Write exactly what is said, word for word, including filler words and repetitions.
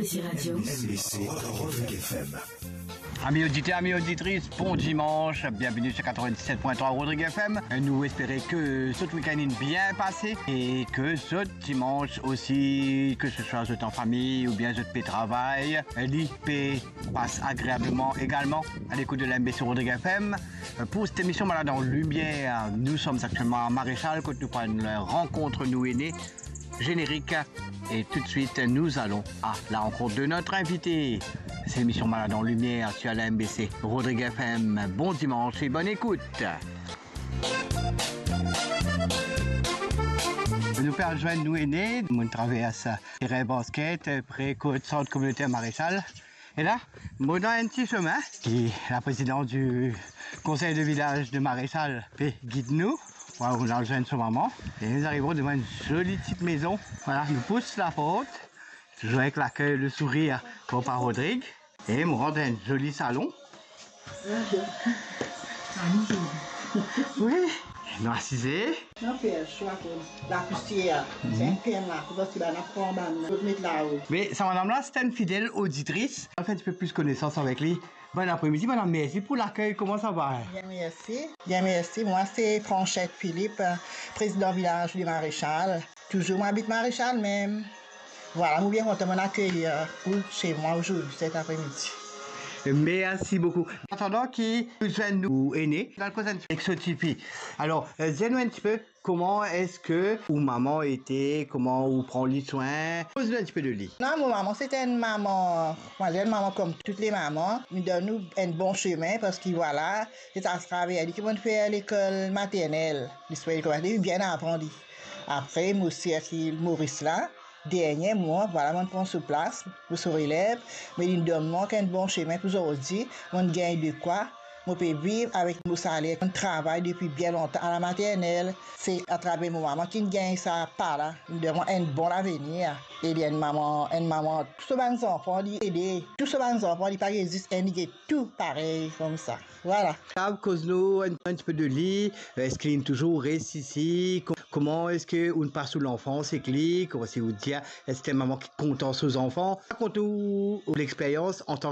Ti radio. M B C Rodrigue F M. Ami oditer, ami oditris, bon dimans, bienveni sur quatre-vingt-dix-sept point trois Rodrigue F M. Nou espere ke zot wikenn inn bien pase e ke zot dimans osi, ke se swa zot an fami oubien zot pe travay, li pe pas agreableman egalman a lekout de la M B C Rodrigue F M. Pour cette émission Malade en Lumière, nous sommes actuellement à Maréchal, kot nou pou al rankont nou ene. Générique. Et tout de suite, nous allons à la rencontre de notre invité. C'est l'émission Malade en Lumière sur la M B C Rodrigue F M. Bon dimanche et bonne écoute. Nou pe al zwenn nou ene, nou travers teren basket, pre kot sant kominotèr Maréchal. E la, mo dan enn ti semin ki la présidente du conseil de village de Maréchal pe gid nou. Vwala, nou al zwenn so mama. E nou arive devan enn zoli ti mezon. Vwala, nou pous laport. Touzour avek lakey, le sourir, papa Rodrigue. E mo rant dan enn zoli salon. Wi, nou asize. Non, fer swa kot lapousier, se enn pena, pou ki bann pran bann, zot met lao. Me sa madam la, se enn fidel oditris. Nou fer enn tipe plis konesans avek li. Bon apremidi, madam, mersi pou lakey. Kouma sa va? Bien, mersi. Bien, mersi. Mwa, se Franchette Philippe, président village de Maréchal. Touzour, mo abit Maréchal mem. Vwala, mo bien kontan, mo akeyir ou se mwa ozordi, set apremidi. Mersi boukou. Atandan ki nou zwenn nou ene, nou al koz enn tipe ek so tifi. Alor, eh, dir nou enn tipe, kouma eski ou mama ete, kouma ou pran li swin? Koz nou enn tipe de li. Non, mo mama, se enn mama, mo dir enn mama kom tou le mama. Li donn nou enn bon semin, parski vwala, se atraver li ki mo'nn fer lekol maternel. Li swin lekol maternel, li bien aprann li. Apre, mo sir ki Moris la, dernie mwa, vwala, mo'nn pran so plas, mo so relev, me li donn mwa enn bon semin pou zordi, mo'nn gagn dekwa, mo pe viv avek mo saler, mo'nn travay depi bien lontan a la maternel. Se atraver mo mama ki'nn gagn sa pa la, li donn mwa enn bon lavenir. E li enn mama, enn mama, tou so bann zanfan, li ede tou so bann zanfan, li pa gagn zis enn, li gagn tou parey koumsa. Vwala. Kapav koz nou enn, enn tipe de li, eski li touzour res isi? Ko-, kouma eski ou'nn pas ou lanfans ek li? Kouma si ou dir, eski enn mama ki kontan so zanfan? Rakont ou, ou lexperyans antan